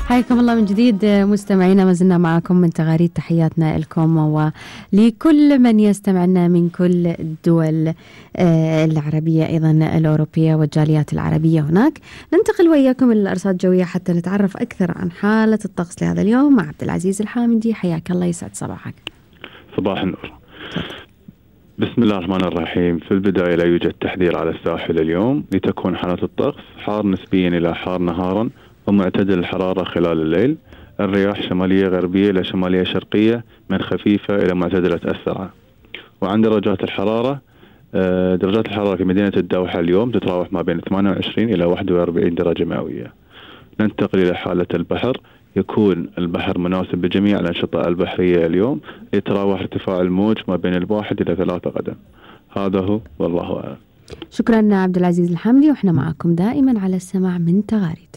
حياكم الله من جديد مستمعينا، ما زلنا معكم من تغاريد. تحياتنا لكم ولكل من يستمعنا من كل الدول العربية أيضا الأوروبية والجاليات العربية هناك. ننتقل وإياكم إلى الأرصاد الجوية حتى نتعرف أكثر عن حالة الطقس لهذا اليوم مع عبد العزيز الحامدي. حياك الله، يسعد صباحك. صباح النور. بسم الله الرحمن الرحيم. في البداية لا يوجد تحذير على الساحل اليوم، لتكون حالة الطقس حار نسبيا إلى حار نهارا ومعتدل الحرارة خلال الليل. الرياح شمالية غربية إلى شمالية شرقية من خفيفة إلى معتدلة السرعة. وعند درجات الحرارة في مدينة الدوحة اليوم تتراوح ما بين 28 إلى 41 درجة مئوية. ننتقل إلى حالة البحر. يكون البحر مناسب لجميع الأنشطة البحرية اليوم، يتراوح ارتفاع الموج ما بين 1 إلى 3 قدم. هذا هو والله أعلم. شكرا عبد العزيز الحامدي، وإحنا معكم دائما على السماع من تغاريد.